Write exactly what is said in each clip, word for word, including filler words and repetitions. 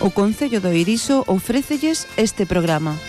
O Concello do Irixo ofrécelles este programa.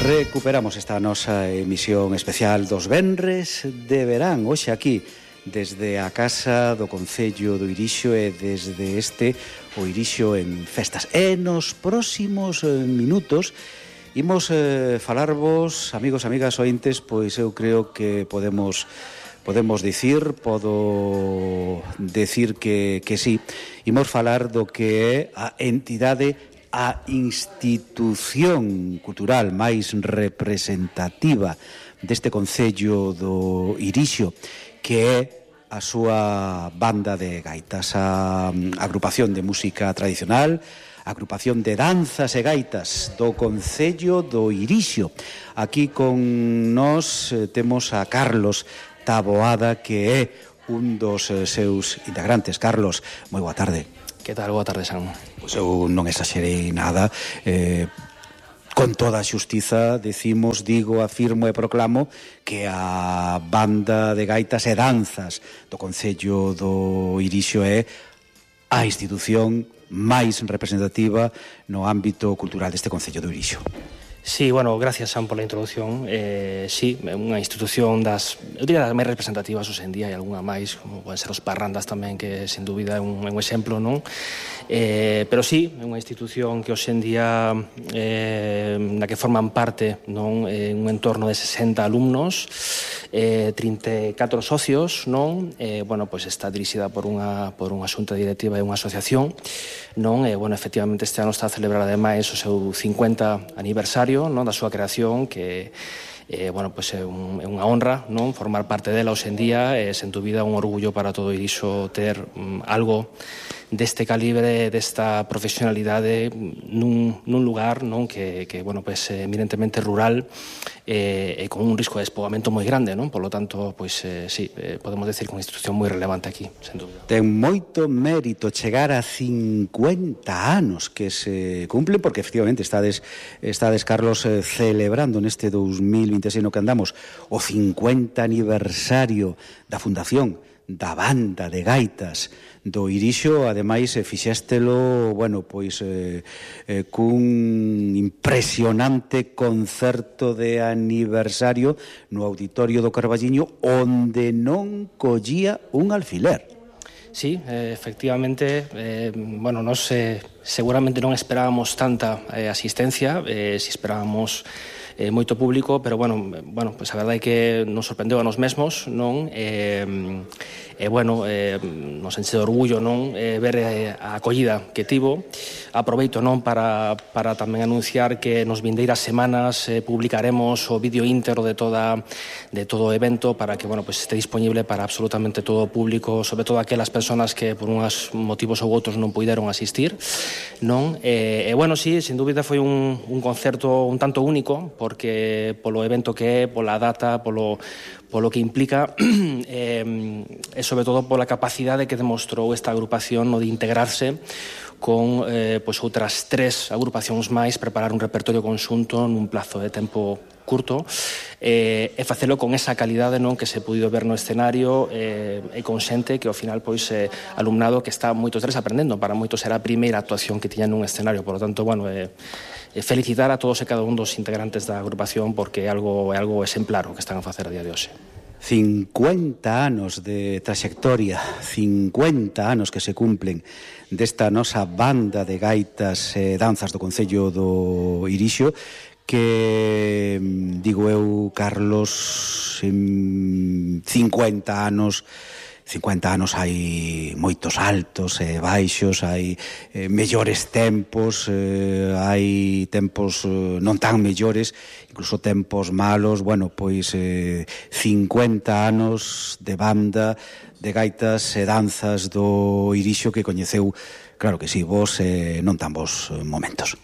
Recuperamos esta nosa emisión especial dos venres de verán. Hoxe aquí, desde a Casa do Concello do Irixo e desde este, o Irixo en Festas. E nos próximos eh, minutos imos eh, falarvos, amigos, amigas, ointes, pois eu creo que podemos podemos dicir, podo decir que, que sí. Imos falar do que é a entidade, a institución cultural máis representativa deste Concello do Irixo, que é a súa banda de gaitas, a agrupación de música tradicional, a agrupación de danzas e gaitas do Concello do Irixo. Aquí con nós eh, temos a Carlos Taboada, que é un dos eh, seus integrantes. Carlos, moi boa tarde. Que tal? Boa tarde, Sam. Pois eu non exaxerei nada. Eh, con toda a xustiza decimos, digo, afirmo e proclamo que a banda de gaitas e danzas do Concello do Irixo é a institución máis representativa no ámbito cultural deste Concello do Irixo. Sí, bueno, gracias, Sam, por la introducción. Eh, sí, unha institución das, eu diría, das máis representativas hoxe en día, e algunha máis, como poden ser os parrandas tamén, que sin dúbida é un, é un exemplo, non? Eh, pero sí, é unha institución que hoxe en día eh, na que forman parte, non, eh, un entorno de sesenta alumnos, eh, trinta e catro socios, non? Eh, bueno, pois está dirixida por unha por unha xunta directiva e unha asociación, non? Eh, bueno, efectivamente este ano está a celebrar ademais o seu cincuenta aniversario, non, da súa creación, que eh, bueno, pues é, un, é unha honra, non, formar parte dela hoxe en día, e sen dúbida un orgullo para todo Irixo ter um, algo deste calibre, desta profesionalidade nun, nun lugar, non, que, que bueno, pues, é eminentemente rural e, e con un risco de despoboamento moi grande, non? Por lo tanto, pois, eh, sí, eh, podemos decir que unha institución moi relevante aquí, sen dúbida. Ten moito mérito chegar a cincuenta anos que se cumplen, porque efectivamente estades, estades Carlos, eh, celebrando neste dos mil vinte e seis no que andamos o cincuenta aniversario da fundación da banda de gaitas do Irixo. Ademais, eh, fixéstelo, bueno, pois eh, eh, cun impresionante concerto de aniversario no Auditorio do Carballiño, onde non collía un alfiler. Sí, eh, efectivamente, eh, bueno, nos eh, seguramente non esperábamos tanta eh, asistencia, eh, si esperábamos eh, moito público, pero bueno, bueno, pues a verdade é que nos sorprendeu a nos mesmos, non? E eh, eh, bueno, eh, nos enche de orgullo, non, eh, ver eh, a acollida que tivo. Aproveito, non, para, para tamén anunciar que nos vindeiras semanas eh, publicaremos o vídeo íntegro de toda de todo o evento, para que, bueno, pues este disponible para absolutamente todo o público, sobre todo aquelas persoas que por uns motivos ou outros non puideron asistir, non? E, e bueno, sí, sin dúbida foi un, un concerto un tanto único, porque polo evento que é, pola data, polo, polo que implica, e, e sobre todo pola capacidade que demostrou esta agrupación no de integrarse con eh, pois outras tres agrupacións máis, preparar un repertorio conxunto nun plazo de tempo curto, eh, e facelo con esa calidade, non, que se puido ver no escenario, eh, e con xente que ao final, pois, eh, alumnado que está moitos tres aprendendo, para moitos era a primeira actuación que tiñan nun escenario. Por lo tanto, bueno, eh, eh, felicitar a todos e cada un dos integrantes da agrupación, porque é algo, é algo exemplar o que están a facer a día de hoxe. cincuenta anos de trayectoria, cincuenta anos que se cumplen desta nosa banda de gaitas e danzas do Concello do Irixo, que, digo eu, Carlos, en cincuenta anos cincuenta anos hai moitos altos e baixos, hai eh, mellores tempos, eh, hai tempos eh, non tan mellores, incluso tempos malos. Bueno, pois eh, cincuenta anos de banda de gaitas e danzas do Irixo que coñeceu, claro que si, vos eh, non tan vos momentos.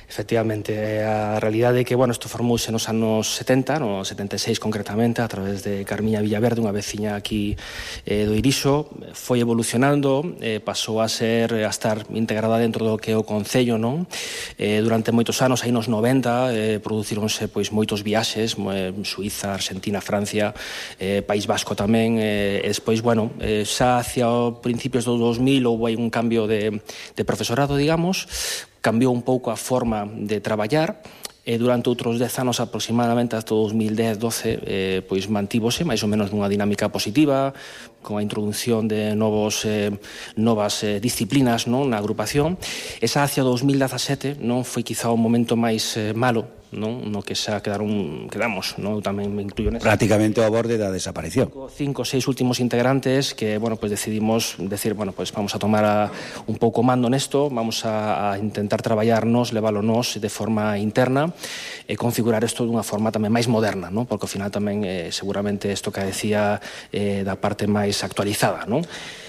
Efectivamente, a realidade é que, bueno, isto formouse nos anos setenta, no setenta e seis concretamente, a través de Carmiña Villaverde, unha veciña aquí eh, do Irixo, foi evolucionando, eh, pasou a ser, a estar integrada dentro do que é o Concello, non? Eh, durante moitos anos, aí nos noventa, eh, producíronse pois moitos viaxes, eh, Suiza, Argentina, Francia, eh, País Vasco tamén, eh, e despois, bueno, eh, xa hacia os principios do dos mil houve un cambio de, de profesorado, digamos, cambiou un pouco a forma de traballar e durante outros dez anos aproximadamente hasta dos mil dez doce eh, pois mantívose máis ou menos nunha dinámica positiva con a introdución de novos eh, novas eh, disciplinas, non, na agrupación. Esa hacia dos mil dezasete non foi quizá o momento máis eh, malo, non, no que xa quedaron quedamos, non, eu tamén me incluyo nesa. Prácticamente ao borde da desaparición. Cinco ou seis últimos integrantes que, bueno, pues decidimos decir, bueno, pues vamos a tomar a, un pouco mando nesto, vamos a, a intentar traballarnos, leválonos de forma interna e configurar isto dunha forma tamén máis moderna, non? Porque ao final tamén eh, seguramente isto que decía eh, da parte máis actualizada, non?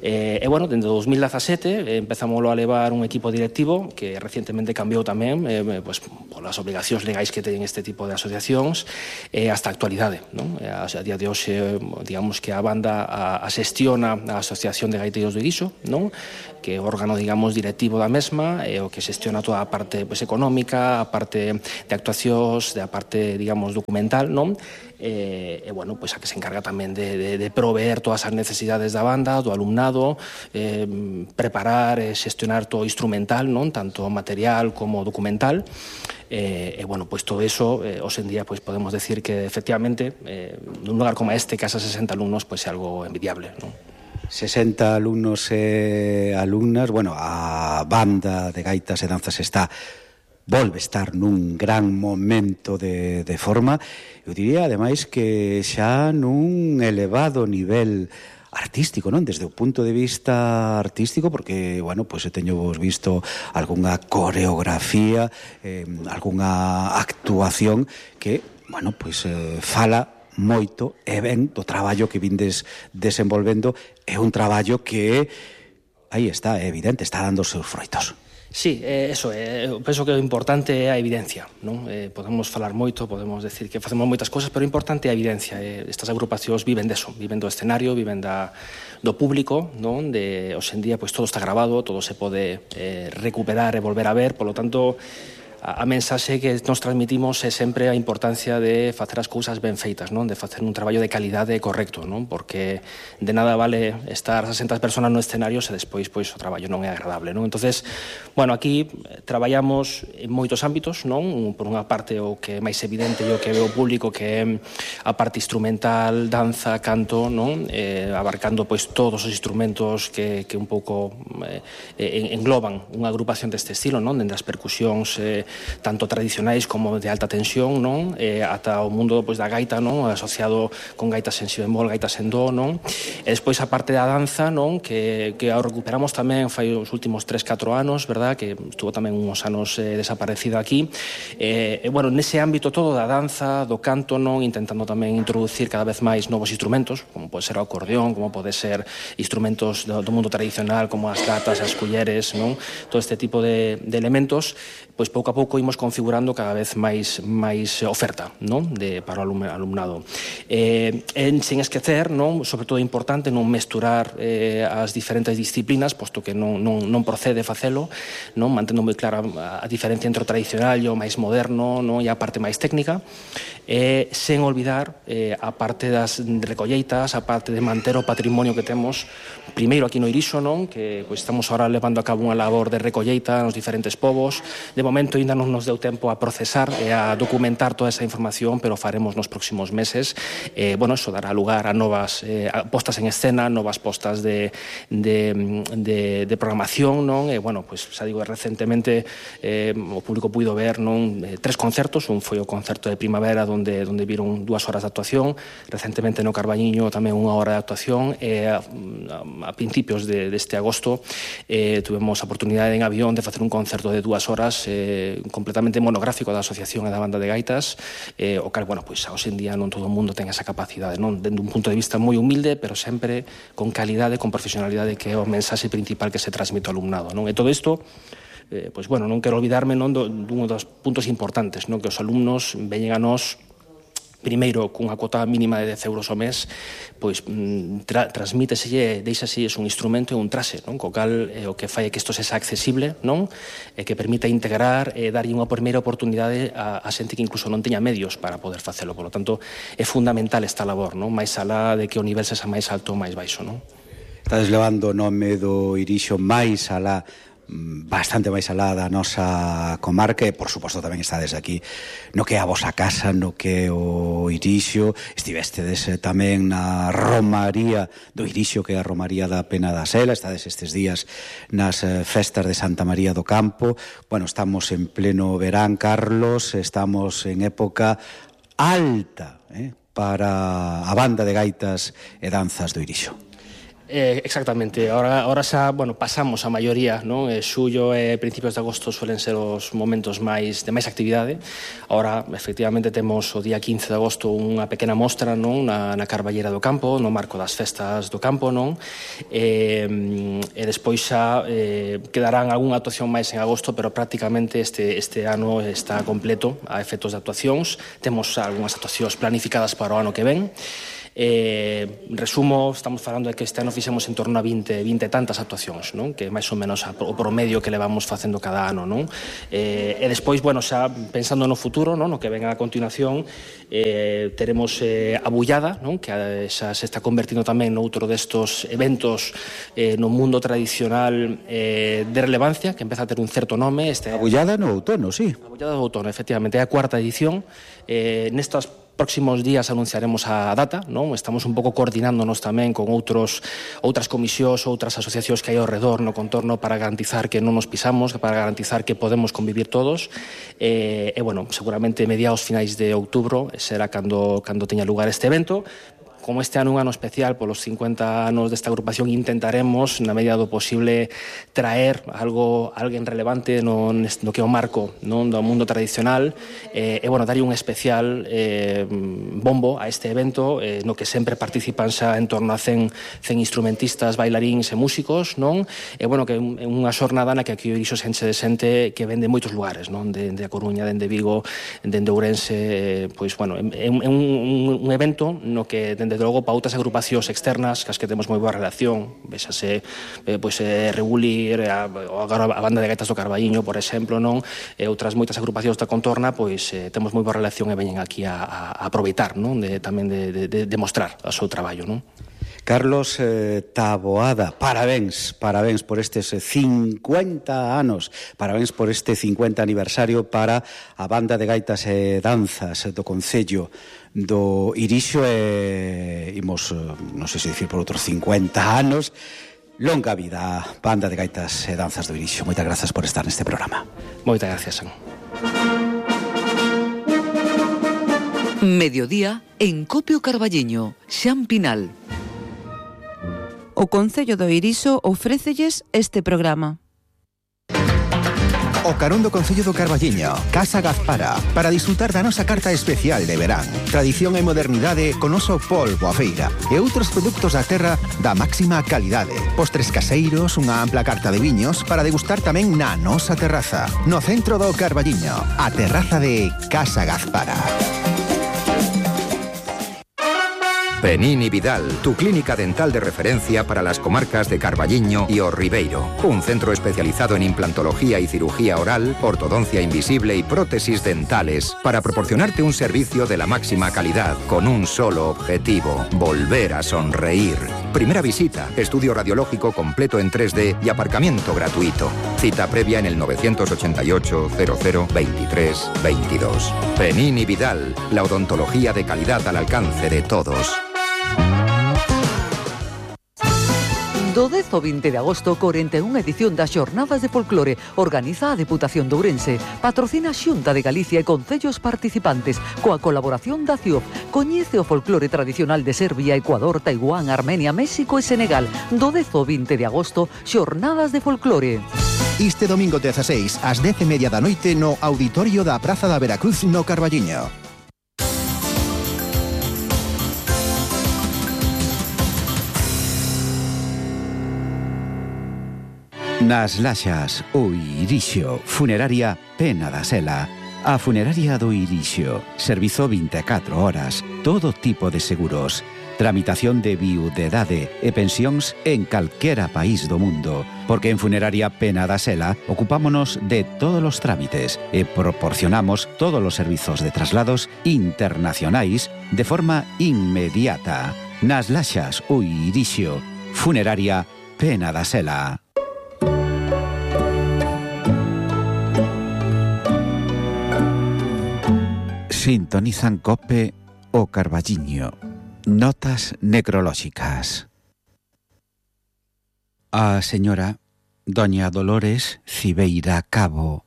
Eh, e, bueno, dende dos mil dezasete eh, empezamos a levar un equipo directivo que recientemente cambiou tamén eh, pues, polas obligacións legais que teñen este tipo de asociacións eh, hasta a actualidade, non? Eh, a, a día de hoxe, digamos que a banda a, a xestiona a Asociación de Gaiteiros do Irixo, non? Que é o órgano, digamos, directivo da mesma e o que xestiona toda a parte pues, económica, a parte de actuacións, da parte, digamos, documental, non? E, e bueno, pois a que se encarga tamén de, de, de proveer todas as necesidades da banda, do alumnado, eh, preparar e xestionar todo o instrumental, non, tanto material como documental. E, e bueno, pois todo eso, eh, hoxe en día, pois podemos decir que efectivamente, eh, nun lugar como este, que hasa sesenta alumnos, pois é algo envidiable, non? sesenta alumnos e alumnas, bueno, a banda de gaitas e danzas está volve estar nun gran momento de, de forma. Eu diría, ademais, que xa nun elevado nivel artístico, non? Desde o punto de vista artístico, porque, bueno, pois pues, teño vos visto algunha coreografía, eh, algunha actuación que, bueno, pois pues, eh, fala moito e ben do traballo que vindes desenvolvendo. É un traballo que, aí está, é evidente, está dando os seus froitos. Sí, eh, eso, eh, eu penso que o importante é a evidencia, non? Eh, podemos falar moito, podemos decir que facemos moitas cosas, pero o importante é a evidencia. Eh, estas agrupacións viven deso, viven do escenario, viven da, do público, non? De, hoxe en día, pois todo está grabado, todo se pode eh, recuperar e volver a ver, polo tanto, a, a mensaxe que nos transmitimos é sempre a importancia de facer as cousas ben feitas, non? De facer un traballo de calidade correcto, non? Porque de nada vale estar sesenta persoas no escenario se despois pois o traballo non é agradable, non? Entonces, bueno, aquí traballamos en moitos ámbitos, non? Por unha parte o que é máis evidente e o que ve o público que é a parte instrumental, danza, canto, non? Eh, abarcando pois todos os instrumentos que, que un pouco eh, engloban unha agrupación deste estilo, non? Dende as percusións eh, tanto tradicionais como de alta tensión, non? Eh, ata o mundo pois da gaita, non? Asociado con gaitas en si bemol, gaitas en do, non? E despois a parte da danza, non? Que, que a recuperamos tamén fai os últimos tres catro anos, verdad? Que estuvo tamén uns anos eh, desaparecida aquí. E, eh, bueno, nese ámbito todo da danza, do canto, non? Intentando tamén introducir cada vez máis novos instrumentos, como pode ser o acordeón, como pode ser instrumentos do, do mundo tradicional, como as gatas, as culleres, non? Todo este tipo de, de elementos, pois pouco a pouco imos configurando cada vez máis máis oferta, non? De para o alumnado. Eh, en, sen esquecer, non? Sobre todo é importante non mesturar eh, as diferentes disciplinas, posto que non, non, non procede facelo, non? Mantendo moi clara a diferencia entre o tradicional e o máis moderno, non? E a parte máis técnica, eh, sen olvidar eh, a parte das recolleitas, a parte de manter o patrimonio que temos primeiro aquí no Irixo, non? Que pois, estamos ahora levando a cabo unha labor de recolleita nos diferentes povos. De momento ainda non nos deu tempo a procesar e a documentar toda esa información, pero faremos nos próximos meses. Eh, bueno, eso dará lugar a novas eh, a postas en escena, novas postas de, de, de, de programación, non? E, bueno, pues, xa digo, recentemente eh, o público puido ver, non? Eh, tres concertos, un foi o concerto de primavera onde, onde viron dúas horas de actuación, recentemente no Carballiño tamén unha hora de actuación, e a, a, a principios de, deste agosto eh, tuvemos a oportunidade en avión de facer un concerto de dúas horas eh, completamente monográfico da asociación e da banda de gaitas, eh, o cal, bueno, pois hoxe en día non todo o mundo ten esa capacidade, non? Dende un punto de vista moi humilde, pero sempre con calidade, con profesionalidade, que é o mensaxe principal que se transmite ao alumnado, non? E todo isto eh, pois, bueno, non quero olvidarme non, do, dun dos puntos importantes, non, que os alumnos veñen a nós primeiro cunha cuota mínima de dez euros ao mes, pois tra transmíteselle, deixaselle un instrumento e un traxe, non? Co cal eh, o que fai é que isto sexa accesible, non? E que permita integrar e darlle unha primeira oportunidade a, a xente que incluso non teña medios para poder facelo. Por lo tanto, é fundamental esta labor, non? Mais alá de que o nivel sexa máis alto ou máis baixo, non? Estades levando o nome do Irixo máis alá, bastante máis alá da nosa comarca e, por suposto, tamén estades aquí no que é a vosa casa, no que é o Irixo. Estivestedes tamén na Romaría do Irixo, que é a Romaría da Pena da Sela. Estades estes días nas festas de Santa María do Campo. Bueno, estamos en pleno verán, Carlos, estamos en época alta, eh, para a banda de gaitas e danzas do Irixo. Eh, exactamente, ahora, ahora xa, bueno, pasamos a maioría, non? Eh, xullo e principios de agosto suelen ser os momentos máis de máis actividade. Ahora, efectivamente, temos o día quince de agosto unha pequena mostra, non? Na, na Carballera do Campo, no marco das festas do campo, non? E, e despois xa eh, quedarán algunha actuación máis en agosto, pero prácticamente este, este ano está completo a efectos de actuacións. Temos algunhas actuacións planificadas para o ano que ven. Eh, resumo, estamos falando de que este ano fixemos en torno a vinte, vinte e tantas actuacións, non? Que é máis ou menos a, o promedio que levamos facendo cada ano, non? Eh, e despois, bueno, xa pensando no futuro, non? No que venga a continuación, eh, teremos eh, a Bullada, non? Que xa se está convertindo tamén noutro destos eventos eh, no mundo tradicional eh, de relevancia, que empeza a ter un certo nome. Este, a Bullada no outono, sí. A Bullada do outono, efectivamente, é a cuarta edición. Eh, nestas próximos días anunciaremos a data, non? Estamos un pouco coordinándonos tamén con outros outras comisións, outras asociacións que hai ao redor no contorno para garantizar que non nos pisamos, para garantizar que podemos convivir todos. E, e bueno, seguramente mediados finais de outubro será cando, cando teña lugar este evento. Como este ano é un ano especial polos cincuenta anos desta agrupación, intentaremos, na medida do posible, traer algo alguén relevante no, no que é o marco, non, do mundo tradicional e, e bueno, darlle un especial eh, bombo a este evento eh, no que sempre participan xa en torno a cen, cen instrumentistas, bailaríns e músicos, non? E bueno, que é unha xornada na que aquí o Irixo se enche de xente que ven de moitos lugares, non? De, de A Coruña, dende Vigo, dende Ourense, eh, pois bueno, é, é un, un, un evento no que dende Desde logo, para outras agrupacións externas, cas que temos moi boa relación, vexase, eh, pois, eh, Regulir, a, agora a banda de gaitas do Carballiño, por exemplo, non? E outras moitas agrupacións da contorna, pois, eh, temos moi boa relación e veñen aquí a, a, a aproveitar, non? De, tamén de, de, de, de mostrar o seu traballo, non? Carlos eh, Taboada, parabéns, parabéns por estes cincuenta anos, parabéns por este cincuenta aniversario para a banda de gaitas e danzas do Concello do Irixo e imos, non sei se dicir por outros cincuenta anos. Longa vida a banda de gaitas e danzas do Irixo. Moitas grazas por estar neste programa. Moitas gracias, San. Mediodía en Copio Carballiño, Xan Pinal. O Concello do Irixo ofrécelles este programa. O carón do Concello do Carballiño, Casa Gazpara, para disfrutar da nosa carta especial de verán. Tradición e modernidade con oso polvo a feira e outros produtos da terra da máxima calidade. Postres caseiros, unha ampla carta de viños para degustar tamén na nosa terraza. No centro do Carballiño, a terraza de Casa Gazpara. Penini Vidal, tu clínica dental de referencia para las comarcas de Carballiño y O Ribeiro. Un centro especializado en implantología y cirugía oral, ortodoncia invisible y prótesis dentales para proporcionarte un servicio de la máxima calidad con un solo objetivo: volver a sonreír. Primera visita, estudio radiológico completo en tres D y aparcamiento gratuito. Cita previa en el novecientos ochenta y ocho, cero cero, veintitrés, veintidós. Penini Vidal, la odontología de calidad al alcance de todos. Do dez ao vinte de agosto, corenta e unha edición das Xornadas de Folclore organiza a Deputación de Ourense, patrocina a Xunta de Galicia e concellos participantes, coa colaboración da C I O F. Coñece o folclore tradicional de Serbia, Ecuador, Taiwán, Armenia, México e Senegal. Do dez ao vinte de agosto, Xornadas de Folclore. Este domingo dezaseis, ás dez e media da noite, no auditorio da Praza da Veracruz, no Carballiño. Nas Laxas, o Irixo, Funeraria Pena da Sela. A Funeraria do Irixo, servizo vinte e catro horas, todo tipo de seguros, tramitación de viudedade e pensións en calquera país do mundo, porque en Funeraria Pena da Sela ocupámonos de todos os trámites e proporcionamos todos os servizos de traslados internacionais de forma inmediata. Nas Laxas, o Irixo, Funeraria Pena da Sela. Sintonizan COPE o Carballiño. Notas necrolóxicas. A señora Doña Dolores Cibeira Cabo,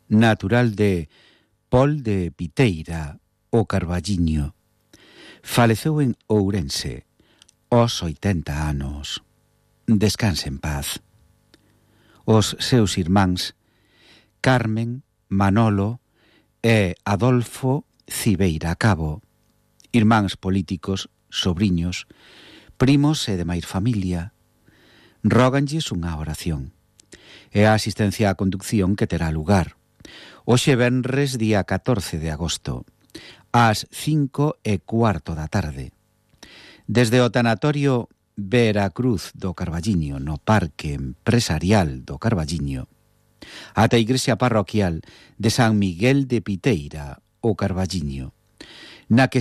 natural de Pol de Piteira, o Carballiño, faleceu en Ourense aos oitenta anos. Descanse en paz. Os seus irmáns Carmen, Manolo e Adolfo Cibeira Cabo, irmáns políticos, sobriños, primos e demais familia, róganlles unha oración e a asistencia á conducción que terá lugar hoxe venres día catorce de agosto ás cinco e cuarto da tarde desde o tanatorio Veracruz do Carballiño no Parque Empresarial do Carballiño ata a igrexa parroquial de San Miguel de Piteira, o Carballiño, na que